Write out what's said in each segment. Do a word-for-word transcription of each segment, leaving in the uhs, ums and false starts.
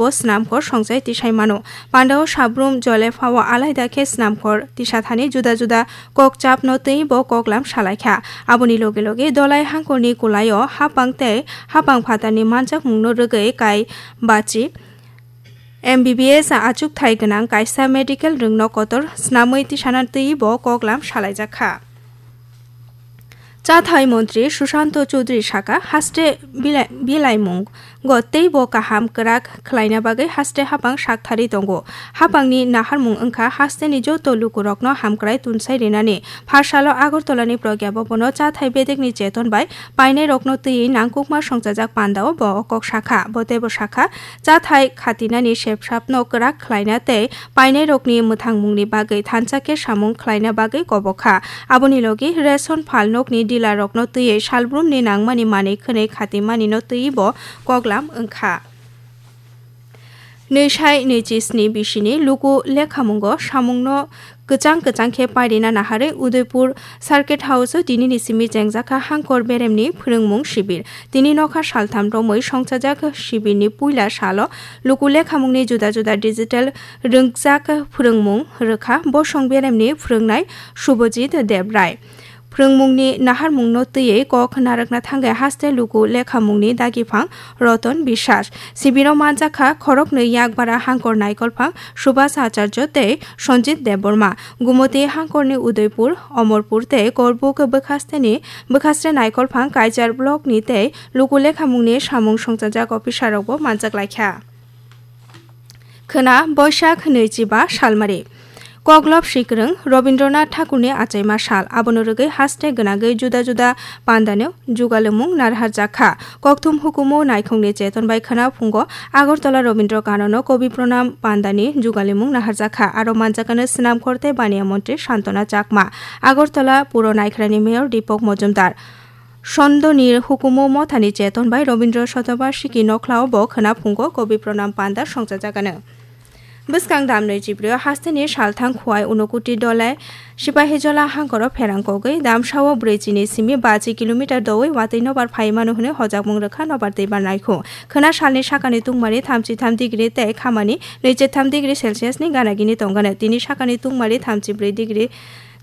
bo swnamkhor songchai tisai mano. Pandao sabrum jolephao alaida khe swnamkhor tisathani juda juda kokchapno twi bo koklam salaikha. Aboni loge loge Dolai hangkorni kulaio hapang tei hapang phatarni manjakmungno rwgwi kai bachi M B B S achukthai gwnang kaisa medical rwngno kotor snamwi tisana twi bo koklam salaijakha. Chathai montri Sushanto Choudhury saka, haste bilai-, bilaimung go tei bo kaham kwrak khlaina bagwi haste hapang sakthari tongo. Hapangni naharmung wngkha hasteni joto lukurokno hamkrai tunsai rinani. Pharsalo Agartala ni Pragya Bhavan o chathai bedekni cheton bai painairokno twiwi nangkukma songchajak pandao bo o kok sakha. Bo teibo sakha, chathai khatinani sepsapno kwrak khlaina tei painairokni mwthangmungni bagwi thansa khe samung khlaina bagwi kobokha. Aboni logi ration phalnokni dealerrokno twiwi salbrumni nangmani manwi khwnwi khatimanino twiwi bo koklam wngkha. Nwi sai nwi chisni bisini luku lekhamungo samungno kwchang kwchang khe pairina naharwi Udaipur Circuit House o tinini simi chengjakha hangkor beremni phwrwngmung sibir. Tini nokha saltham romwi songchajak sibirni puila salo luku lekhamungni juda juda digital rwngjak phwrwngmung rwkha. Bosong beremni phwrwngnai Subhajit Debrai. Phwrwngmungni naharmungno twiwi kok narwkna thangwi haste luku lekhamungni dagiphang Roton Biswas. Sibiro manjakha khoroknwi yakbara hangkor naikolphang Subhas Acharya tei Sanjit Debbarma. Gumoti hangkorni Udaipur, Omorpur tei Korbuk bwkhasteni bwkhastre naikolphang Kaichar blockni tei luku lekhamungni samung songchajak officerrokbo manjak laikha. Khwna Boisak nwichiba salmari. Koklob sikrwng Rabindranath Thakurni achaima sal, abono rwgwi haste gwnagwi juda juda pandano jugalimung narharjakha. Kokthum hukumu naikhungni cheton bai khwna phungo Agartala Rabindra Kanono Kobi Pranam pandani jugalimung naharjakha. Aro manjakano Swnamkhor tei Baniya Montri Santona Chakma, Agartala Puro Naikharani Mayor Deepak Mojumdar. Sondoni hukumu mothani cheton bai Rabindra Shatabarshiki nokhlao bo khwna phungo Kobi Pranam panda songchajagano. Bwskang damnwi chibrio hasteni salthang Khwai Unokuti Dolai Sipahijola hangkoro pherang kogwi damsao brwi chini simi bachi kilometer dowi watwi nobar phai mano hwnwi hojakmung rwkha nobar twibar naikhung. Khwna salni sakani tungmari thamchi tham degree tei khamani nwichi tham degree Celsius ni ganagini tongano. Tini sakani tungmari thamchi brwi degree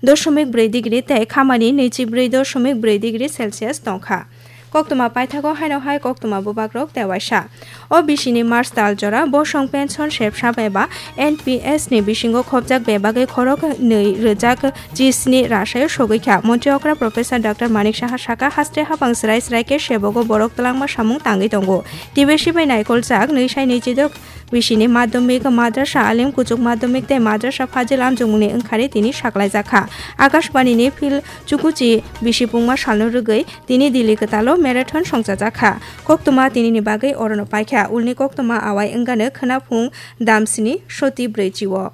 doshomik brwi degree tei khamani nwichi brwi doshomik brwi degree Celsius tongkha. Koktwma paithago haino hai koktwma bubagrok tewaisa. O bisini March tal jora bosong pension sepsap eba N P S ni bisingo khopjak bebagwi khorok nwi rwjak chisni rasayo sogwi kha. Montri okra Professor Doctor Manik Saha saka, haste habang srai srai khe sebogo borok twlangma samung tangwi tongo. Tibesi bai naikoljak nwi sai nwi chidok bisini madhyamik, madrasa alim kuchuk madhyamik tei madrasa Fazil Amjokmungni wngkhari tini saklaijak kha. Akashbani ni Phil Chukuchi bisi pungma salno rwgwi tini Delhi kwtalo marathon songchajak kha. Koktwma tinini bagwi orono paikha. Ulni koktwma awai wngano khwna phung damsini soti brwi chio.